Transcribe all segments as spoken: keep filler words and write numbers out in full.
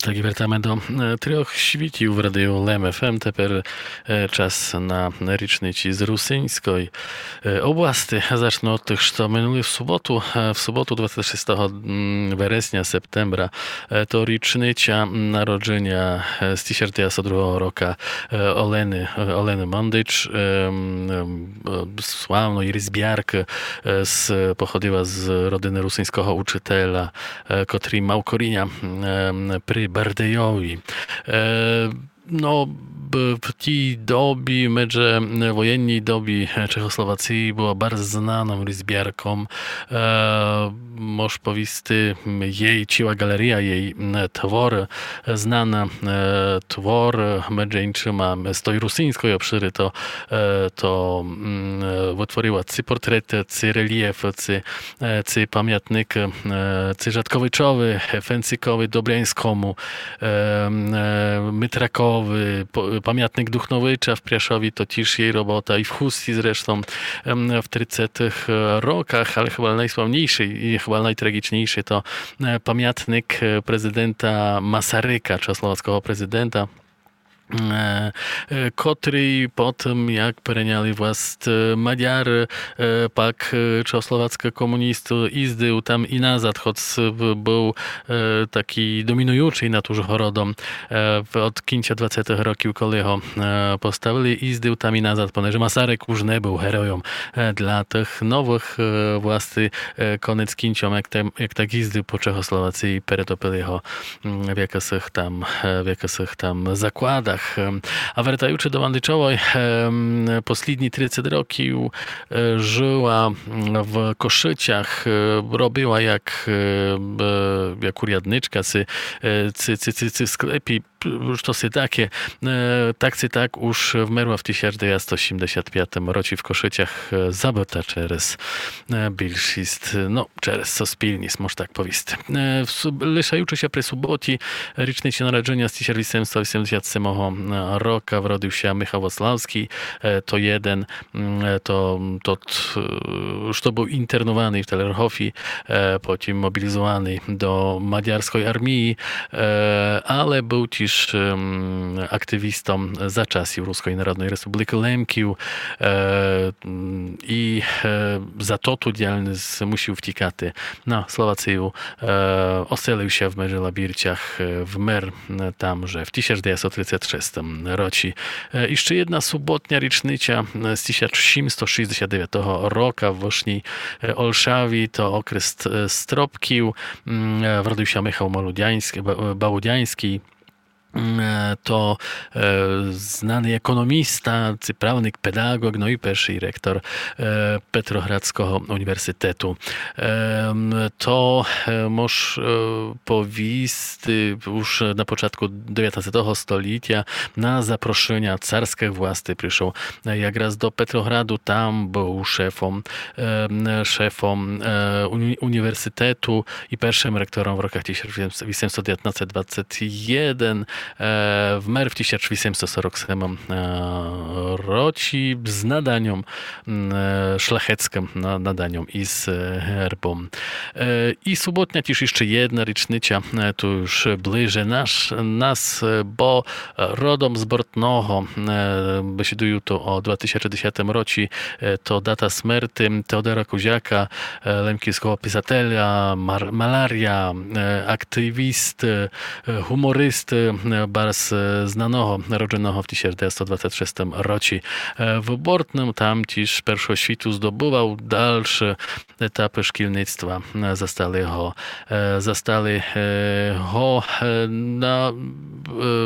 Так і вертаме до е, трьох світів в радіо Лем ФМ. Тепер е, час на річниці з русинської е, области. Зачну од тых, што минулі в суботу, е, в суботу двадцять шестого м, вересня, септембра, е, то річниця народження е, з тисяч девятсот другого рока е, Олени, е, Олени Мандич, е, м, е, славної різбяркы, е, з, походила з родины русинського учителя, е, котрий мав коріня е, при Бардейови. Е, Но, б- в тій добі, медже воєнній добі е, Чехословації была барз знаном різбярком. Е, Мож повісти, м, єй ціла ґалерія, єй м, творы, е, знана е, твор, е, медже іншыма е, з той русинської обшыры, то, е, то м, е, вытворила ци портреты, ци реліфы, ци е, ци памятник, е, ци Жатковичови, е, Фенцикови, Добрянському, е, м, е, Митракови, по- памятник Духновича в Пряшови, то тіж єй робота, і в Хусті зрештом ем, в тридцятых е, роках, але хыба найславніший і хыба найтрагічніший то е, памятник е, президента Масарика, чехословацького президента, е, е, котрий потым, як перейняли власт е, Мадяры, е, пак е, чехословацькы комуністы, їздив там і назад, хоц б- быв е, такій домінуючий над Ужгородом е, в- од кінця двадцятых років, коли го е, поставили, їздив там і назад, понеже Масарик уж не быв геройом е, для тых новых е, власти е, конець кінцьом, як, там, як так їздив по Чехословації, перетопили го м, в якысых там, е, в якысых там закладах. Ем, А вертаючы до Мандичовой, ем, послідні тридцять років е, жыла м, в Кошицях, е, робила як, е, б- як урядничка, ци, е, ци, ци, ци, ци в склепі, п- штоси таке. Е, Так ци так уж вмерла в тисяч девятсот сімдесят пятым році в Кошицях, е, забыта через е, більшіст, но, через суспільніст, мож так повісти. Е, в суб- Лишаючы ся при суботі річниці народження з тисяч вісемсот вісемдесят семого рока вродив ся Михал Воцлавський, е, то єден, м, е, то тот, е, што быв інтернований в Телергофі, е, потім мобілізований до мадярської армії, е, але быв тіж ем, активістом за часів Руської Народної Республікы Лемків, е, м, і е, за тоту діяльность мусів втікати на Словацію. Е, Оселив ся в Межелабірцях, е, вмер е, там же в тисяч девятсот тридцять шестым році. Е, І ще єдна суботня річниця е, з тисяч сімсот шістдесят девятого рока в вышній е, Олшаві, то окрест е, Стропків. М, е, Вродив ся Михал Молудянський, Ба- Балудянський. М, е, То е, знаный економіста, ци правник, педаґоґ, но і першый ректор е, Петроградського універсітету. Ем, То е, мож е, повісти, уж на початку девятнадцятого столітя на запрошыня царськых власти пришов е, якраз до Петрограду, там быв шефом, ем, шефом е, уні- універсітету і першым ректором в роках тисяч вісемсот девятнадцять двадцять єден, е, вмер в тисяч вісемсот сорок семым е, році з наданьом м, е, шляхецькым, на- наданьом і з е, гербом. Е, І суботня тіж іщы єдна річниця, е, ту уж ближе наш, нас, е, бо е, родом з Бортного, е, бесідую ту о два тисячі десятым році, е, то дата смерти Теодора Кузяка, е, лемківського писателя, мар- маляря, е, активіст, е, гуморист, е, барз е, знаного, народженого в тисяч девятсот двадцять шестым році. Е, В Бортным там тіж першого світу здобывав, дальше етапы шкільництва е, застали го, е, застали е, го е, на, е,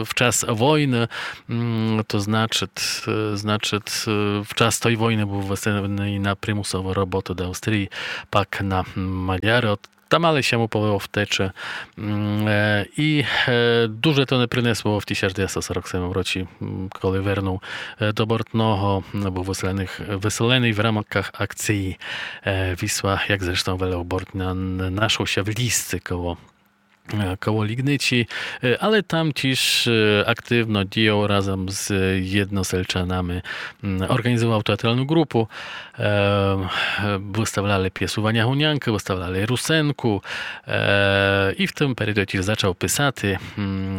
в час войны, м, то значить, е, значить, е, в час той войны быв выселеный на примусову роботу до Австрії, пак на Мадяры. От Там але ся му повело втечы. М, е, І е, дуже то не принесло в тисяч девятсот сорок семым році, м, коли вернув е, до Бортного, м, быв выселеный, выселеный в рамках акції е, Вісла, як зрештом велел Бортня, н- нашов ся в Лісці коло е, коло Лігниці, е, але там тіж е, активно діяв разом з єдносельчанами, м, орґанізовав театралну ґрупу, е, е, выставляли пєсу Ваня Гунянкы, выставляли Русенку, е, і в тым періоді тіж зачав писати, м,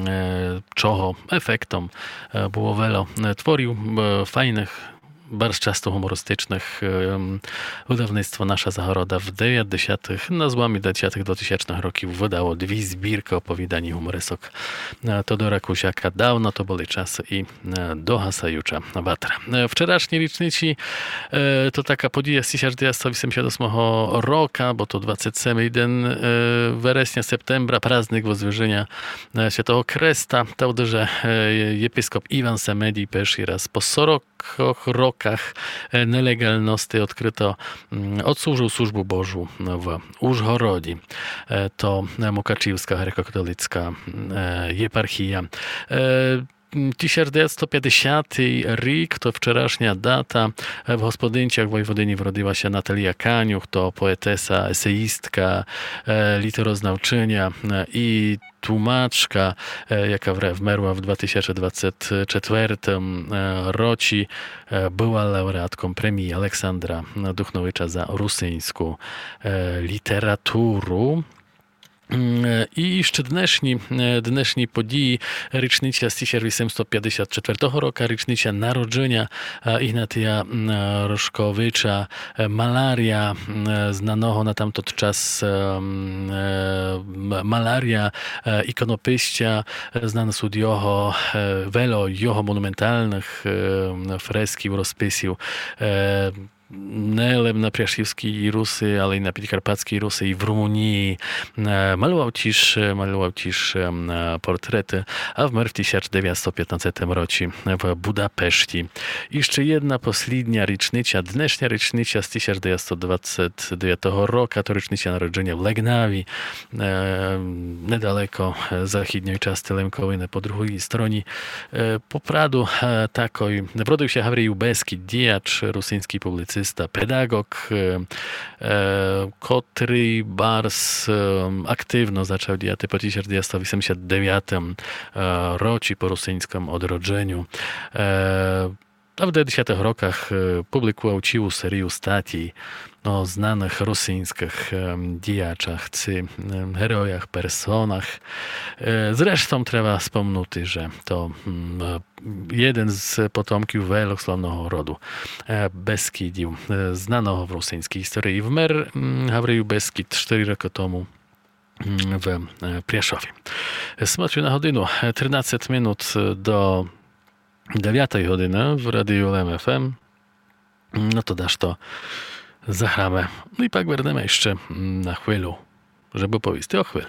чого ефектом, е, было вельо, е, творів, е, файных, барз часто гумористичных, е, м, выдавництво «Наша загорода» в девятдесятых, на зломі девятдесятых, двотисячных років выдало дві збіркы оповіданій гуморисок, е, Тодора Кузяка. Давно то были часы і, е, догасаюча ватра. Е, вчерашні річниці, е, то така подія з тисяч девятсто вісемдесят восьмого рока, бо то двадцет семый ден, е, вересня, септембра, праздник Воздвиженя, е, Святого Креста. Та, же, е, єпископ Іван Семедій першый раз по сорок роках, е, нелеґалности одкрыто, м, одслужыл службу Божу в Ужгороді. Е, то, е, Мукачівска греко-католицка, е, єпархія. Е, м, тисяч девятсто пятдесятый рік, то вчерашня дата. Е, в Господинцях Войводині вродила ся Наталія Канюх, то поетеса, есеїстка, е, літерознавчыня, е, і тлумачка, е, яка вре-, вмерла в два тисячі двадцять четвертым, е, році, е, была лауреатком премії Александра Духновича за русиньску, е, літературу. М, е, і іщы днешні, е, днешні події: річниця з тисяч вісемсто пятдесят четвертого рока, річниця народжыня, е, Ігнатія, м, е, Рошковича, е, маляря, м, е, знаного на тамтот час, е, м, е, м-, маляря, е, іконописця, е, знаны сут його, е, вельо його монументалных, е, м, фресків, розписів, е, не лем на Пряшівскій Руси, але й на Підкарпатській Руси і в Румунії. Е, малював тіж, малював тіж, е, м, е, портреты, а вмер в тисяч девятсто пятнадцятым році в Будапешті. І іщы єдна послідня річниця, днешня річниця з тисяч девятсто двадцять девятого рока, то річниця народжыня в Леґнаві, е, недалеко, е, західньой части Лемковины, по другій стороні. Е, по правду, е, такой. Вродив ся Гавріл Бескід, діяч, русиньскій публіциста, педаґоґ, е, е, котрый барз, е, активно зачав діяти по тисяч девятсто вісемдесят девятым, е, році, по русиньскым одродженю. Е, а в девятдесятых роках, е, публікував цілу серію статій о знаных русиньскых, е, діячах ци, е, героях, персонах. Е, зрештом треба спомнути, же то, м, е, єден з потомків вельо славного роду, е, Бескідів, е, знаного в русиньскій історії. Вмер, м, Гавріл Бескід штыри рокы тому, м, в, е, Пряшові. Смотрю на годину. Е, тринадцять минут до девятой годины в Радію Лем ФМ. Но то дашто заграме. Но і пак вернеме іщы, м, на хвилю, жебы повісти о хвилі.